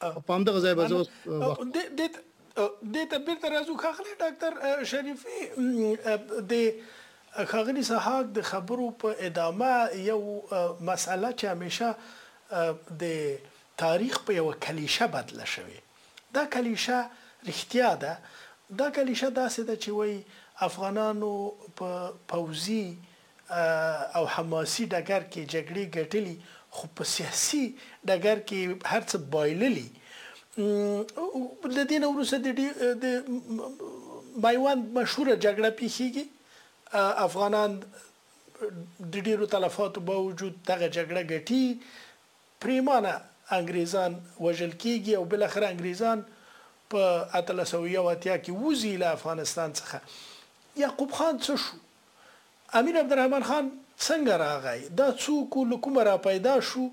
په همدغه ځای به زه اوس دې ته بیرته راځو. ښاغلی ډاکټر شریفي، د ښاغلي سهاک د خبرو په ادامه یو مسئله چې همیشه د تاریخ په یوه کلیشه بدله شوې، دا کلیشه رښتیا ده. دا کلیشه داسې ده چې وایي افغانانو په پوځي او حماسي ډګر کې جګړې ګټلي، خو په سیاسي ډګر کې هر څه بایللي. له دې نه وروسته د میوند مشهوره جګړه پیښیږي، افغانان د ډیرو تلفاتو باوجود دغه جګړه ګټي، پریمانه انګریزان وژل کیږي او بالاخره انګریزان په 1881 کې وځي له افغانستان څخه. یعقوب خان څه شو؟ امیر عبدالرحمن خان څنګه راغی؟ دا څوک له کومه را پیدا شو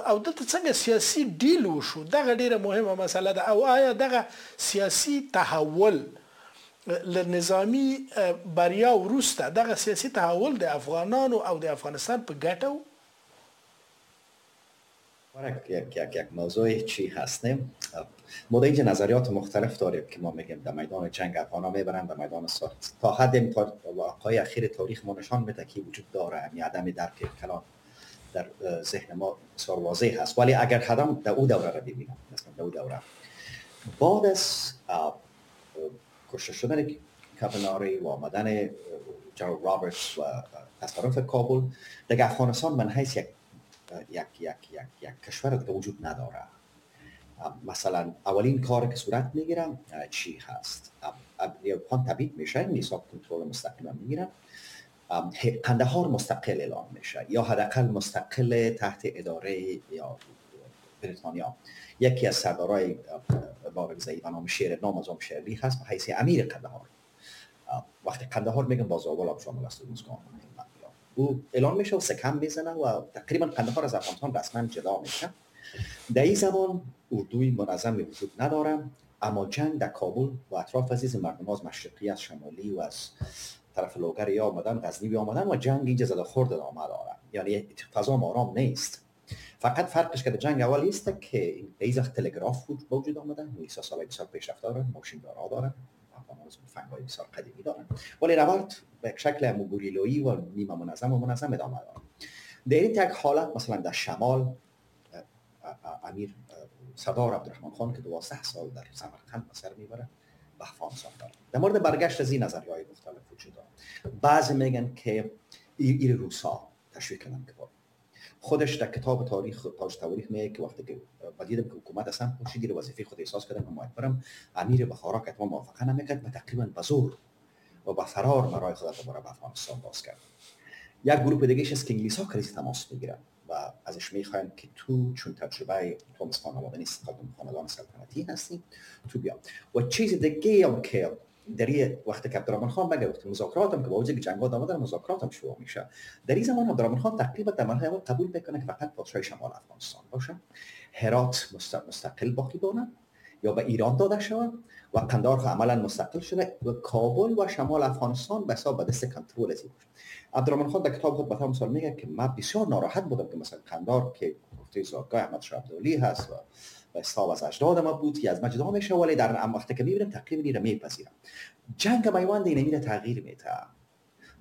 او دلته څنګه سیاسي ډیل وشو؟ دغه ډیره مهمه مسله ده. او آیا دغه سیاسي تحول له نظامي بریا وروسته دغه سیاسي تحول د افغانانو او د افغانستان په ګټه و؟ یک موضوع چی هست نه؟ ما در اینجا نظریات مختلف داریم که ما میگیم در میدان جنگ افغانا میبرن، در میدان ساخت تا حد تا واقعای اخیر تاریخ ما نشان میده که وجود داره، یعنی عدم درک کلان در ذهن ما بسیار واضح هست. ولی اگر خدام در او دوره را ببینم، مثلا در او دوره بعد از کشته شدن کابناری و آمدن جنرال رابرتس و تصرف کابل، دیگه افغانستان من حیث یک یک یک یک یک کشور دیگه وجود نداره. مثلا اولین کار که صورت میگیره چی هست؟ خان تبعید میشه، انگلیس‌ها کنترل مستقیم میگیرن، قندهار مستقل اعلام میشه یا حداقل مستقل تحت اداره یا بریتانیا. یکی از سردارای بارکزایی به نام شیر نام از شیرلی هست به حیث امیر قندهار. وقتی قندهار میگم باز اول هم شامل است روزگان او اعلان میشه و سکم میزنه و تقریبا قندهار از افغانستان رسما جدا میشه. در این زمان اردوی منظم وجود نداره، اما جنگ در کابل و اطراف عزیز مردم از مشرقی، از شمالی و از طرف لوگر یا آمدن، غزنی آمدن و جنگ اینجا زده خورد ادامه داره، یعنی فضا آرام نیست. فقط فرقش که در جنگ اول است که به این تلگراف وجود آمده، انگلیس‌ها سال‌های بسیار پیشرفته دارن، ماشین دارا دارن، فنگ‌های بسیار قدیمی دارن، ولی نبرد به یک شکل گوریلایی و نیمه منظم و منظم ادامه داره. در این تک حالت مثلا در شمال امیر سردار عبدالرحمن خان که 12 سال در سمرقند به سر میبره به افغانستان داره. در مورد برگشت از این نظریه‌های مختلف وجود داره. بعضی میگن که ایر روسا تشویق کردن که خودش در کتاب تاریخ تاج تواریخ میگه که وقتی که دیدم که حکومت اصلا پوشیدی وظیفه خود احساس کردم که باید برم، امیر بخارا که اتمام موافقه نمیکرد و تقریبا به زور و با فرار برای خود دوباره به افغانستان باز کرد. یک گروه دیگه است که انگلیس‌ها کریز تماس میگیرن و ازش میخواین که تو چون تجربه تو مثل خانواده نیست، خاندان سلطنتی هستی، تو بیا. و چیز دیگه هم که در این وقتی که عبدالرحمن خان مگه وقتی مذاکرات هم که با وجود جنگ‌ها ادامه داره، مذاکرات هم شروع میشه. در این زمان عبدالرحمن خان تقریبا در مرحله اول قبول میکنه که فقط پادشاه شمال افغانستان باشه، هرات مستقل باقی بمونه یا به ایران داده شود و قندهار عملا مستقل شده و کابل و شمال افغانستان به حساب دست کنترل ازی باشه. عبدالرحمن خان در کتاب خود به طور مثال میگه که من بسیار ناراحت بودم که مثلا قندهار که گفته زادگاه احمد شاه عبدالعلی هست و به حساب از اجداد ما بود که از ما جدا میشه، ولی در وقتی که میبینم تقریبا اینو میپذیرم. جنگ میوند اینو میره تغییر میده،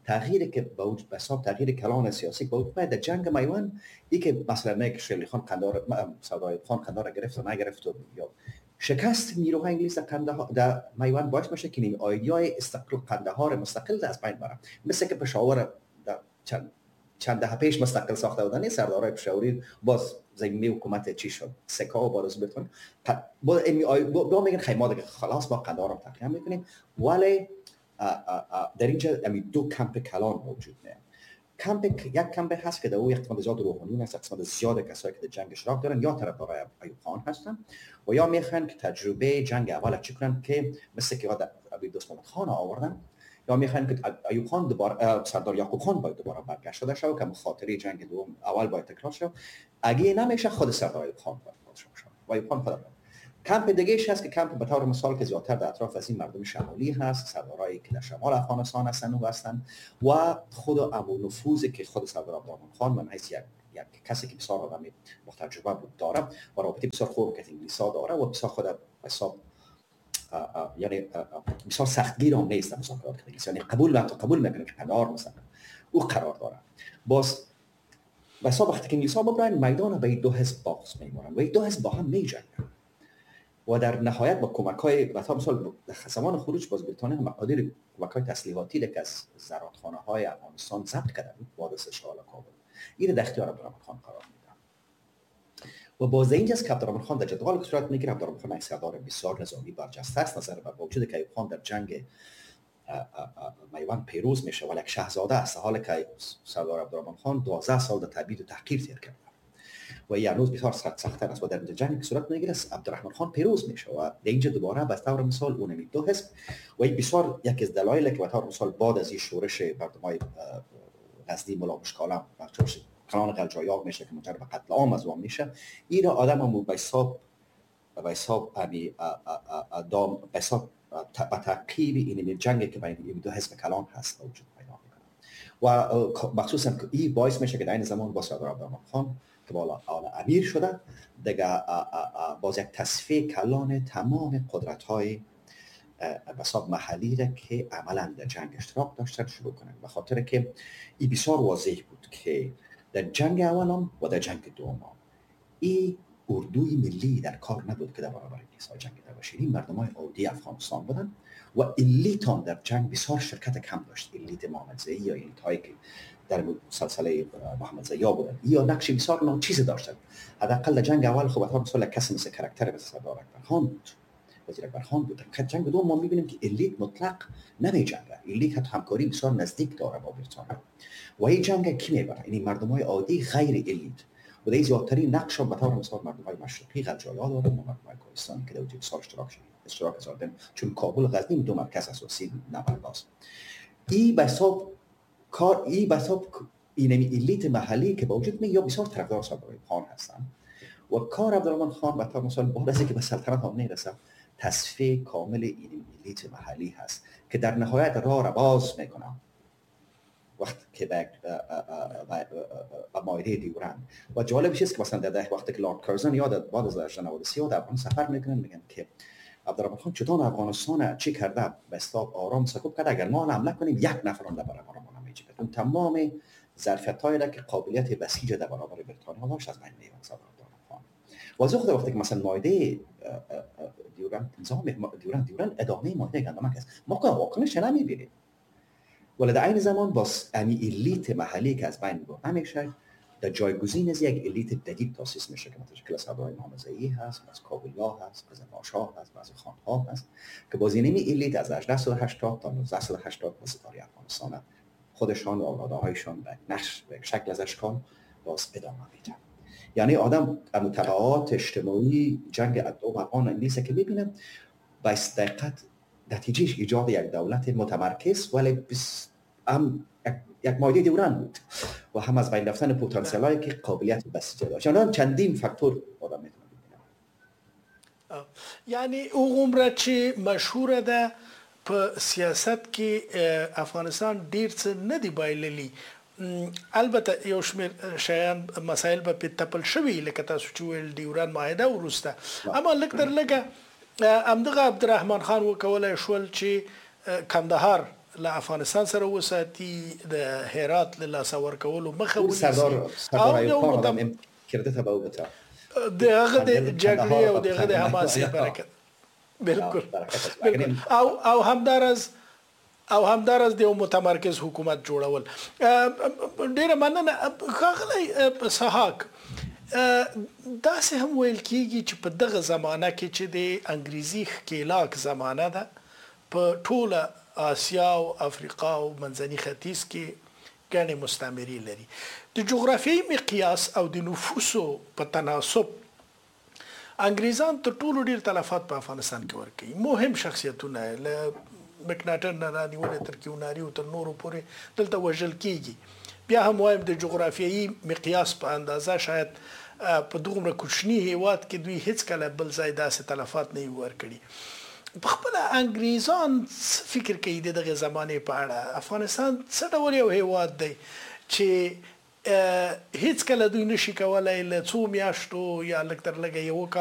تغییری که به وجود به حساب تغییر کلان سیاسی به وجود در جنگ میوند ای که مثلا نه که شیرعلی خان قندهار سردار خان قندهار گرفت و نگرفت و یا شکست نیروهای انگلیس در قندهار در میوند باعث میشه که این ایده‌ای استقلال قندهار مستقل از بین بره، مثل که پشاور در چند دهه پیش مستقل ساخته بودن، سردارای پشاوری باز زمینه حکومت چی شد سکا و باز بتون با با میگن خیلی ما دیگه خلاص ما قندهار رو تقسیم میکنیم، ولی در اینجا دو کمپ کلان موجود نه. کمپ یک کمپ هست که در او یک قسمت زیاد روحانیون هست، قسمت زیاد کسایی که در جنگ اشتراک دارن یا طرفدارای ایوب خان هستن و یا میخوان که تجربه جنگ اول چی کنن که مثل که امیر دوست محمد خان آوردن، یا میخوان که ایوب خان دوباره سردار یعقوب خان باید دوباره برگشت داده شود که مخاطره جنگ دوم اول باید تکرار شود. اگه نمیشه خود سردار ایوب خان باید پادشاه شود و ایوب خان خود. کمپ دیگه ایش هست که کمپ به طور مثال که زیادتر در اطراف از این مردم شمالی هست، سردارایی که در شمال افغانستان هستن و هستن و خود ابو نفوذ که خود سردار عبدالرحمن خان من حیث یک یک کسی که بسیار آدم با تجربه بود داره و رابطه بسیار خوب که انگلیسا داره و بسیار خود حساب یعنی بسیار سختگیر هم نیست در مذاکرات که انگلیس، یعنی قبول میکنه که قندهار مثلا او قرار داره. باز بسا وقتی که انگلیس‌ها ببرن میدان به دو حزب باز میمونن و دو حزب با هم میجنگن و در نهایت با کمک‌های مثلا مثال در زمان خروج باز بریتانیا هم مقادیر کمک‌های تسلیحاتی که از زرادخانه‌های افغانستان ضبط کرده بود بعد از اشغال کابل این در اختیار عبدالرحمن خان قرار میدن. و باز اینجاست که عبدالرحمن خان در جدول که صورت میگیره، عبدالرحمن خان یک سردار بسیار نظامی برجسته است، نظر به وجود که ایوب خان در جنگ میوند پیروز میشه ولی یک شاهزاده است، حال که سردار عبدالرحمن خان 12 سال در تبعید و تحقیر تیر کرده و این هنوز بسیار سخت‌تر است و در جنگ که صورت میگیره عبدالرحمن خان پیروز میشه و در اینجا دوباره به طور مثال اونمی دو حزب و این بسیار یکی از دلایل که به طور مثال بعد از این شورش مردمای غزنی ملا مشکالم و شورش کلان غلجایاب میشه که منجر به قتل عام از اون میشه، این آدم هم به حساب دام به حساب به تعقیب این جنگ که بین این دو حزب کلان هست وجود پیدا میکنه و مخصوصا که این باعث میشه که در این زمان با سردار عبدالرحمن خان که بالا امیر شده دیگه باز یک تصفیه کلان تمام قدرت های بساب محلی را که عملا در جنگ اشتراک داشتن شروع کنن، به خاطر که این بسیار واضح بود که در جنگ اولم و در جنگ دوم این اردوی ملی در کار نبود که در برابر انگلیس‌ها جنگیده باشه. این مردمای عادی افغانستان بودن و elite هم در جنگ بسیار شرکت کم داشت. elite محمدزئی یا elite هایی که در سلسله محمدزئی ها بودن یا نقش بسیار ناچیز داشتن. حداقل در جنگ اول خب مثلا کسی مثل character مثل سردار اکبر خان بود، وزیر اکبر خان بود. در جنگ دوم ما می‌بینیم که elite مطلق نمی‌جنگه، elite حتی همکاری بسیار نزدیک داره با بریتانیا و این جنگ کی میبره؟ یعنی مردمای عادی غیر elite و در زیادترین نقش هم به طور مثال مردم‌های مشرقی غلجایا دارن و مردم‌های کوهستانی که در وجود سال اشتراک زادن، چون کابل و غزنی دو مرکز اساسی نبرد است. این به حساب کار این به حساب اینمی elite محلی که با وجود می یا بسیار طرفدار سردار خان هستن و کار عبدالرحمن خان به طور مثال بعد از اینکه به سلطنت هم میرسه تصفیه کامل این elite محلی هست که در نهایت راه را باز میکنه وقت که به معاهده دیورند. و جالبش است که مثلا در وقتی که لارد کرزن یاد بعد از 1893 در افغانستان سفر میکنن میگن که عبدالرحمن خان چطور افغانستان چی کرده به اصطلاح آرام سکوت کرده، اگر ما حمله کنیم یک نفر هم در برابر ما نمیجنگه. اون تمام ظرفیت‌هایی را که قابلیت بسیج در برابر بریتانیا داشت از بین میبرد عبدالرحمن خان. و از وقتی وقتی که مثلا معاهده دیورند نظام دیورند ادامه معاهده گندمک است، ما که واکنش نمیبینیم، ولی در این زمان باز امی elite محلی که از بین برده میشه در جایگزین از یک elite جدید تاسیس میشه که متشکل از سردارهای محمدزئی هست، از کابلیا هست، از باشا هست، از خانها هست که باز اینمی elite از 1880 تا 1980 به ستاره افغانستان خودشان و اولادهایشان به نقش به شکل از اشکال باز ادامه میدن. یعنی آدم تبعات اجتماعی جنگ دوم افغان انگلیس که میبینه با دقت نتیجهش ایجاد یک دولت متمرکز ولی هم یک مایده دیورند بود و هم از بین رفتن پتانسیل هایی که قابلیت بسیج داشت. یعنی چندین فاکتور آدم میتونه ببینه. یعنی هغومره چې مشهوره ده په سیاست کې افغانستان ډیر څه نه دی بایللي، البته یو شمېر شیان مسایل به پې تپل شوي لکه تاسو چې وویل ډیورند معاهده وروسته، اما لږ تر لږه همدغه عبدالرحمن خان وکولای شول چې کندهار له افغانستان سره وساتي، د هرات له لاسه ورکولو مخه ونیسي. سردار ایوب خان آدم کردت به او بته د هغه د جګړې او د هغه د حماسې برکت. بالکل بالکل. او همداراز د یو متمرکز حکومت جوړول. ډیره مننه ښاغلی سهاک. داسې هم ویل کیږي چې په دغه زمانه کې چې د انګریزي ښکېلاک زمانه ده، په ټوله آسیا او افریقا او منځني ختیځ کې ګڼې مستعمرې لري. د جغرافیایي مقیاس او د نفوسو په تناسب انګریزان تر ټولو ډیر تلفات په افغانستان کې ورکوي. مهم شخصیتونه له مکناټن نه رانیولې تر کیوناري او تر نورو پورې دلته وژل کیږي. بیا هم وایم د جغرافیایي مقیاس په اندازه شاید په دغومره کوچني هیواد کې دوی هیڅکله بل ځای داسې تلفات نه وي ورکړي. په خپله انګریزان څه فکر کوي د دغې زمانې په اړه؟ افغانستان څه ډول یو هیواد دی چې هیڅکله دوی نشي کولای له څو میاشتو یا لږ تر لږه یوه کال.